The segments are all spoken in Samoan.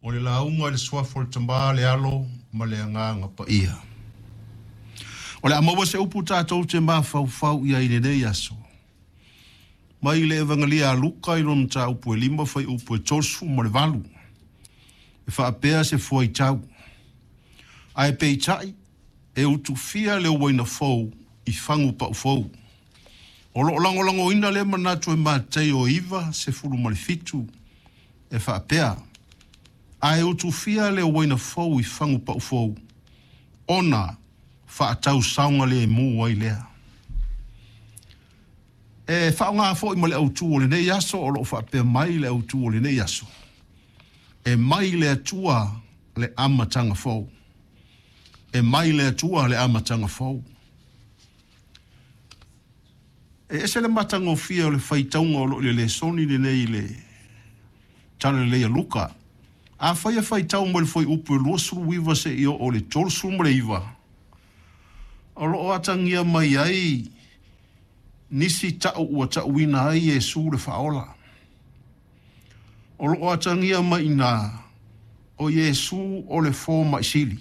O le lauga i le Suafa o le Tama, le Alo ma le Agaga Paia. O le a maua se upu tatou te mafaufau i ai i lenei aso. Mai le Evagelia a Luka i lona mataupu e 5 fuaiupu e 38, e faapea se fuaitau, Ae peitai, e utufia le uaina fou i fagu pau fou. O lo o lagolagoina lea manatu e Mataio 9, 17, e faapea, Ae utufia le uaina fou i fagu pau fou, ona faatau saogalemu ai lea. E faaaoga foi ma le autu o lenei aso, o lo o faapea mai le autu o lenei aso, E mai le Atua le amataga fou. E mai le Atua le amataga fou. E ese le matagofie o le faitauga o lo o i le lesoni lenei i le Tala Lelei a Luka. Afai e faitau mai le fuaiupu e 29 seia oo i le 39, o lo o atagia mai ai nisi tau ua tauina ai Iesu le Faaola. O lo o atagia mai i ina o Iesu o le fomai sili,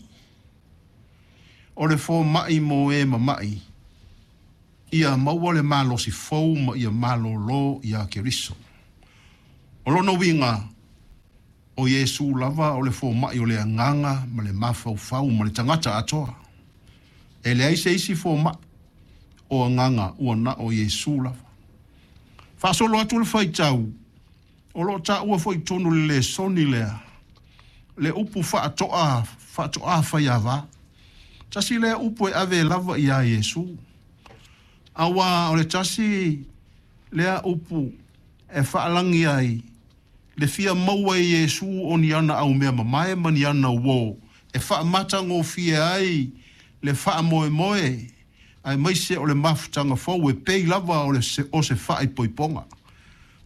o le fomai mo e mama'i, ia maua le malosi fou ma ia malōlō iā Keriso. O lona uiga, o Iesu lava o le fomai o le agaga ma le mafaufau ma le tagata atoa. E leai se isi fomai o agaga ua na o Iesu lava. Faasolo atu le faitau, o lo o taua foi i totonu o le lesoni lea le upu faatoa, faatoa faiava. Tasi lea upu e ave lava iā Iesu. Auā o le tasi lea upu e faalagi ai le fia maua e Iesu o ni ana aumea mamae ma ni ana uō e faamatagofie ai le faamoemoe aemaise o le mafutaga fou e pei lava o le o se faaipoipoga.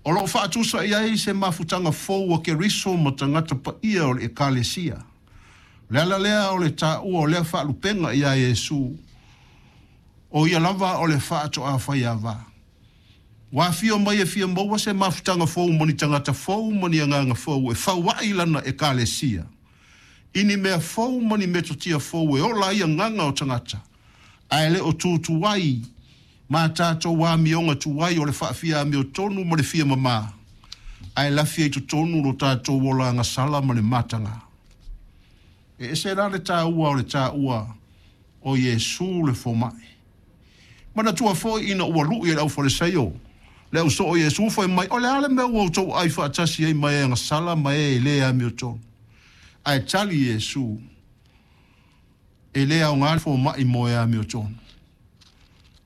O lo o faatusa i ai se mafutaga fou a Keriso ma tagata paia o le Ekalesia. O le ala lea o le taua o lea faalupega iā Iesu, o ia lava o le faatoa faiava. Ua afio mai e fia maua se mafutaga fou ma ni tagata fou ma ni agaga fou e fau ai lana Ekalesia i ni mea fou ma ni metotia fou e ola ai agaga o tagata, ae le o tūtū ai ma tatou amioga tuai o le faafia amiotonu ma le fia mamā, ae lafi ai totonu lo tatou ola agasala ma le mataga. E ese la le taua o le taua o Iesu le fomai. Manatua foi ina ua lu'i e le Aufalesaio le au soo o Iesu fai mai, O le a le mea ua outou aai faatasi ai ma e agasala ma e e le amiotonu? Ae tali Iesu, E le aoga le fomai mo e amiotonu,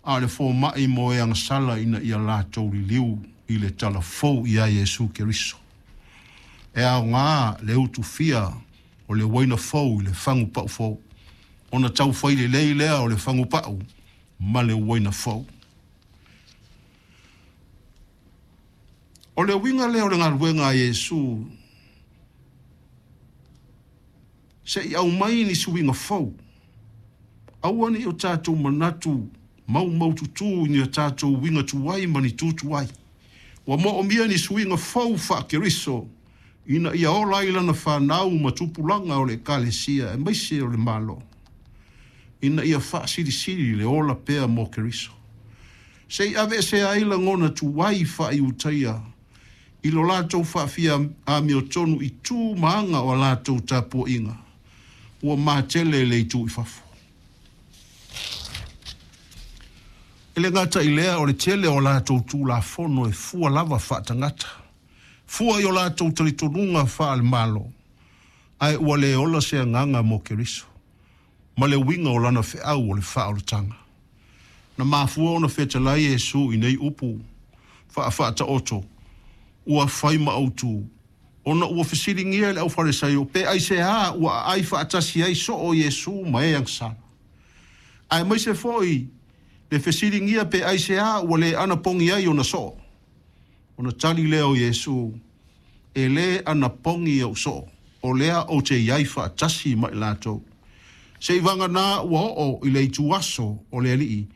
a o le fomai mo e agasala ina ia latou liliu i le tala fou iā Iesu Keriso. E aoga le utufia o le uaina fou i le fagu pau fou, ona tau fai lelei lea o le fagu pau ma le uaina fou. O le uiga lea o le galuega a Iesu, se i aumai ni suiga fou. Aua ne i o tatou manatu maumaututu i ni a tatou uiga tuai ma ni tu tuai. Ua moomia ni suiga fou faa-Keriso ina ia ola ai lana fanau ma tupulaga o le Ekalesia aemaise o le Malo, ina ia faasilisili le ola pea mo Keriso. Se i aveesea ai lagona tuai faa-Iutaia i lo latou faafia amiotonu i tu ma aga o a latou tapuaiga ua matele le itu i fafo. E le gata i lea, o le tele o a latou tulafono e fua lava faatagata, fua i o latou talitonuga faale-Malo, ae ua le ola se agaga mo Keriso ma le uiga o lana feau o le faaolataga. Na mafua ona fetalai Iesu i nei upu faafaataoto ua fai ma autu, ona ua fesiligia e le Aufalesaio pe aisea ua aai faatasi ai soo Iesu ma e agasala. Aemaise foi le fesiligia pe aisea ua le anapogi ai ona soo. Ona tali lea o Iesu, E le anapogi ou soo, o lea ou te i ai faatasi ma i latou. Seivaganā ua oo i le ituaso o le Alii.